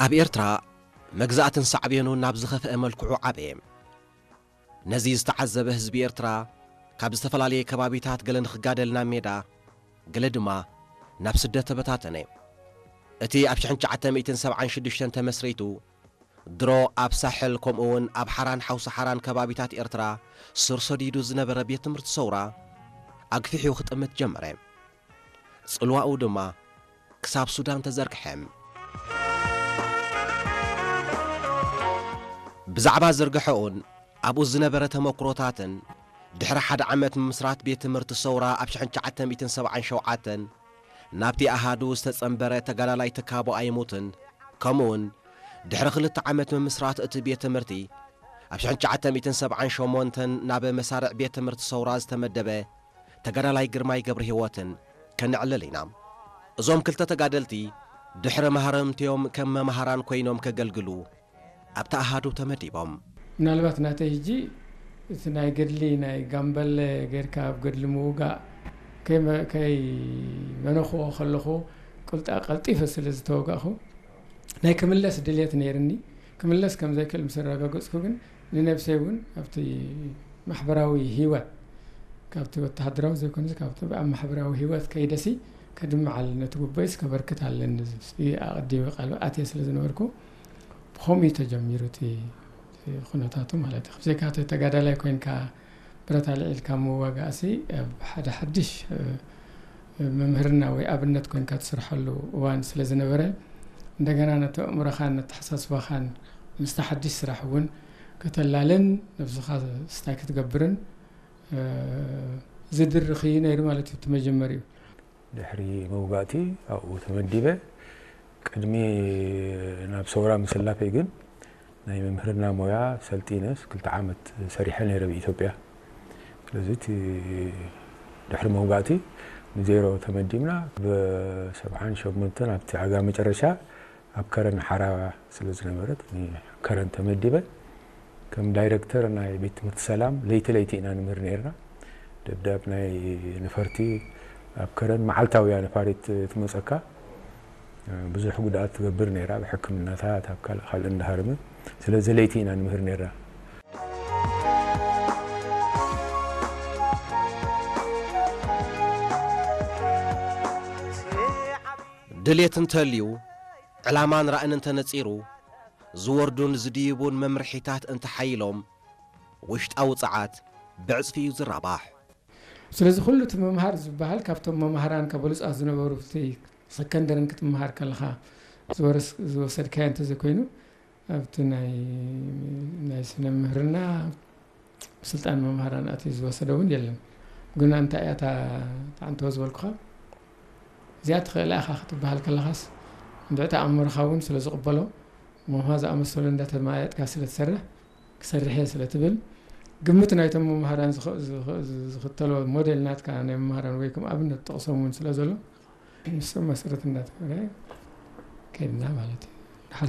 ኣብ ኤርትራ መግዛእትን ሳዕቤኑን ናብ ዝኸፍአ መልክዑ ዓበየ። ነዚ ዝተዓዘበ ህዝቢ ኤርትራ ካብ ዝተፈላለየ ከባቢታት ገለ ንኽጋደል ናብ ሜዳ፣ ገለ ድማ ናብ ስደት ተበታተነ። እቲ ኣብ ሽሕን ትሽዓተ ሚእትን ሰብዓን ሽዱሽተን ተመስሪቱ ድሮ ኣብ ሳሕል ከምኡ እውን ኣብ ሓራን ሓውሲ ሓራን ከባቢታት ኤርትራ ስር ሰዲዱ ዝነበረ ቤት ትምህርቲ ሰውራ ኣግፊሑ ክጥምት ጀመረ። ጽልዋኡ ድማ ክሳብ ሱዳን ተዘርግሐ። ብዛዕባ ዝርግሐኡን ኣብኡ ዝነበረ ተመክሮታትን ድሕሪ ሓደ ዓመት ምምስራት ቤት ትምህርቲ ሰውራ ኣብ ሽሕን ትሽዓተ ሚእትን ሰብዓን ሸውዓተን ናብቲ ኣሃዱ ዝተጸንበረ ተጋዳላይ ትካቦ ኣይሙትን፣ ከምኡውን ድሕሪ ክልተ ዓመት ምምስራት እቲ ቤት ትምህርቲ ኣብ ሽሕን ትሽዓተ ሚእትን ሰብዓን ሸሞንተን ናብ መሳርዕ ቤት ትምህርቲ ሰውራ ዝተመደበ ተጋዳላይ ግርማይ ገብረ ህይወትን ከነዕልል ኢና። እዞም ክልተ ተጋደልቲ ድሕሪ ማህረምቲኦም ከም መምሃራን ኮይኖም ከገልግሉ ኣብቲ ኣሃዱ ተመዲቦም። ምናልባት ናተይ ሕጂ እቲ ናይ ገድሊ ናይ ጋምበለ ጌርካ ኣብ ገድሊ ምውጋእ ከይመ- ከይመነኽዎ ከለኹ ቅልጣ- ቀልጢፈ ስለ ዝተወጋእኹ ናይ ክምለስ ድልየት ነይርኒ። ክምለስ ከም ዘይክእል ምስ ኣረጋገጽኩ ግን ንነብሰይ እውን ኣብቲ ማሕበራዊ ህይወት ካብቲ ወተሃደራዊ ዘይኮነስ ካብቲ ኣብ ማሕበራዊ ህይወት ከይደሲ ከድምዕ ኣለኒ፣ ነቲ ጉቦይስ ከበርክት ኣለኒ ዝብል ኣቐዲመ ቃል ኣትየ ስለ ዝነበርኩ ብኸምኡ እዩ ተጀሚሩ እቲ ኩነታቱ ማለት እዩ። ብዘይካ እቲ ተጋዳላይ ኮይንካ ብረት ኣልዒልካ ምዋጋእሲ ኣብ ሓደ ሓድሽ መምህርና ወይ ኣብነት ኮይንካ ትስርሐሉ እዋን ስለ ዝነበረ እንደገና ነቲ ኣእምሮኻን ነተሓሳስባኻን ምስቲ ሓድሽ ስራሕ እውን ከተላልን ነብስኻ ስታይ ክትገብርን ዝድርኽ እዩ ነይሩ ማለት እዩ እቲ መጀመሪኡ። ድሕሪ መውጋእቲ ኣብኡ ተመዲበ ቅድሚ ናብ ሰውራ ምስላፈይ ግን ናይ መምህርና ሞያ ሰልጢነስ ክልተ ዓመት ሰሪሐ ነይረ ብኢትዮጵያ። ስለዚ እቲ ድሕሪ መውጋእቲ ንዜሮ ተመዲብና ብሰብዓን ሸሞንተን ኣብቲ ኣጋ መጨረሻ ኣብ ከረን ሓራ ስለ ዝነበረት ከረን ተመዲበ ከም ዳይረክተር ናይ ቤት ትምህርቲ ሰላም ለይቲ ለይቲ ኢና ንምህር ነርና። ደብዳብ ናይ ነፈርቲ ኣብ ከረን መዓልታዊ እያ ነፋሪት ትመፀካ። ብዙሕ ጉድኣት ትገብር ነይራ ኣብ ሕክምናታት ኣብ ካልእ ካልእ እንዳሃረመ። ስለዚ ለይቲ ኢና ንምህር ነርና። ድሌት እንተልዩ ዕላማን ራእን እንተነጺሩ ዝወርዱን ዝድይቡን መምርሒታት እንተሓይሎም ውሽጣዊ ጸዓት ብዕጽፊ እዩ ዝራባሕ። ስለዚ ኩሉ እቲ ምምሃር ዝበሃል ካብቶም መማህራንካ በሉጻት ዝነበሩ እቲ ሰከንደርን ክትምሃር ከለኻ ዝወረስ- ዝወሰድካዮ እንተዘይኮይኑ ኣብቲ ናይ ናይ ስነ ምህርና ስልጣን መምሃራን ኣትዩ ዝወሰደ እውን የለን። ግን እንታይ እያ እታ ተዓንተወ ዝበልኩኻ እዚኣ ትኽእላ ኢኻ ክትበሃል ከለኻስ እንድዕቲ ኣእምሮኻ እውን ስለ ዝቕበሎ ሞምሃ ዝኣመሰሉ እንዳተማየጥካ ስለ ትሰርሕ ክሰርሕ እየ ስለ ትብል ግምት ናይቶም መምሃራን ዝኽተሎ ሞዴል ናትካ ናይ መምሃራን ወይ ከም ኣብነት ጠቕሶም እውን ስለ ዘሎ ንሶም መሰረት እንዳተገበረ ከድና ማለት እዩ። ድሓር